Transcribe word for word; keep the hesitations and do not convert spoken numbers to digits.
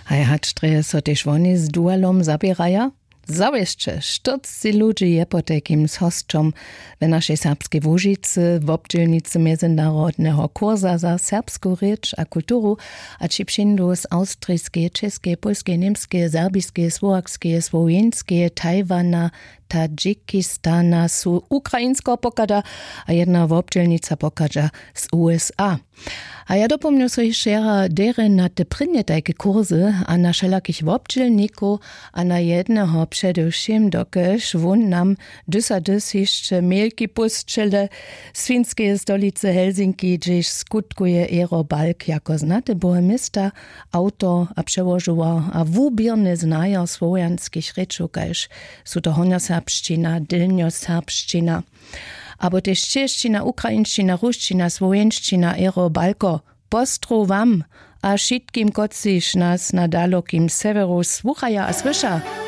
Haj hač drje so tež woni z dualom zaběraja. Zawěsće štyrcci ludźi je potajkim z hosćom w našej serbskej łužicy wobdźělnicy mjezynarodneho kursa za serbsku rěč a kulturu, a ći přińdu z awstriskeje, čěskeje, pólskeje, němskeje, serbiskeje, słowakskej, słowjeńskeje, tajwana, tadžikistana su ukrajinskeho pochada, a jedna wobdźělnica pochadźa z usa. A ja dopomnju so hišće jara derje na te prěnje tajke kursy a na wšelakich wobdźělnikow, a na jedneho předewšěm, dokelž wón nam dys a dys hišće mjelki pósćele z finskeje stolicy helsinki, hdźež skutkuje ero balk jako znaty bohemista, awtor a přełožowar a wuběrny znajo słowjanskich rěčow, kaž su to hornjoserbšćina, delnjoserbšćina, abo tež češćina, ukrajinšćina, rusćina, słowjenšćina, ero balko. Postrow wam a wšitkim, kotřiž nas na dalokim sewjeru słuchaja a słyša.